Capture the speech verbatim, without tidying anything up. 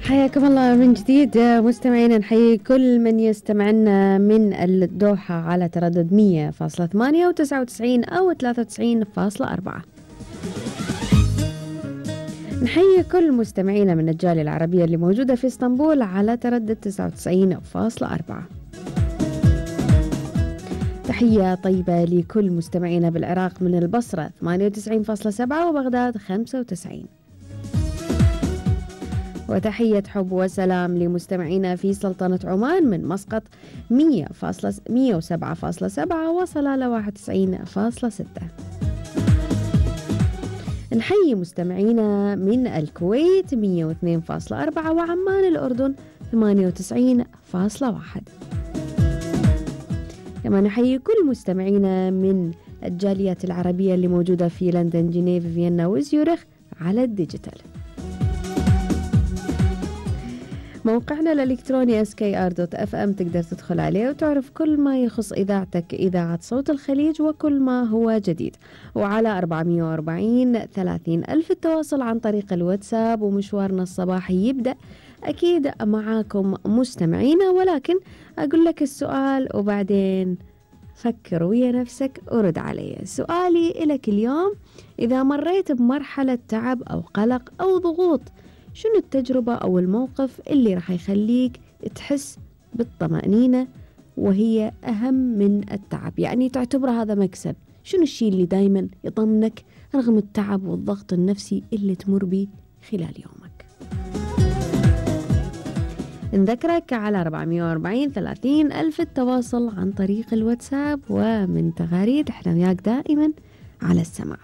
حياكم الله من جديد مستمعينا، نحيي كل من يستمعنا من الدوحة على تردد مية فاصلة ثمانية وتسعة وتسعين أو ثلاثة وتسعين فاصلة أربعة. نحيي كل مستمعينا من الجالية العربية اللي موجودة في اسطنبول على تردد تسعة وتسعين فاصلة أربعة. تحية طيبة لكل مستمعينا بالعراق من البصرة ثمانية وتسعين فاصلة سبعة وبغداد خمسة وتسعين. وتحية حب وسلام لمستمعينا في سلطنة عمان من مسقط مية وسبعة فاصلة سبعة وصلالة واحد وتسعين فاصلة ستة. نحيي مستمعينا من الكويت مية واثنين فاصلة أربعة وعمان الأردن ثمانية وتسعين فاصلة واحد. كما نحيي كل مستمعينا من الجاليات العربية اللي موجودة في لندن، جنيف، فيينا وزيورخ على الديجيتال. موقعنا الإلكتروني إس كي آر دوت إف إم تقدر تدخل عليه وتعرف كل ما يخص إذاعتك، إذاعة صوت الخليج، وكل ما هو جديد. وعلى أربعمية وأربعين ثلاثين ألف التواصل عن طريق الواتساب، ومشوارنا الصباحي يبدأ أكيد معاكم مستمعينا. ولكن أقول لك السؤال وبعدين فكر ويا نفسك ورد علي. سؤالي إلك اليوم: إذا مريت بمرحلة تعب أو قلق أو ضغوط، شنو التجربة أو الموقف اللي راح يخليك تحس بالطمأنينة وهي أهم من التعب؟ يعني تعتبر هذا مكسب. شنو الشيء اللي دايما يطمنك رغم التعب والضغط النفسي اللي تمر به خلال يومك؟ نذكرك على أربعمية وأربعين ثلاثين ألف التواصل عن طريق الواتساب، ومن تغاريد احنا وياك دائما على السماع.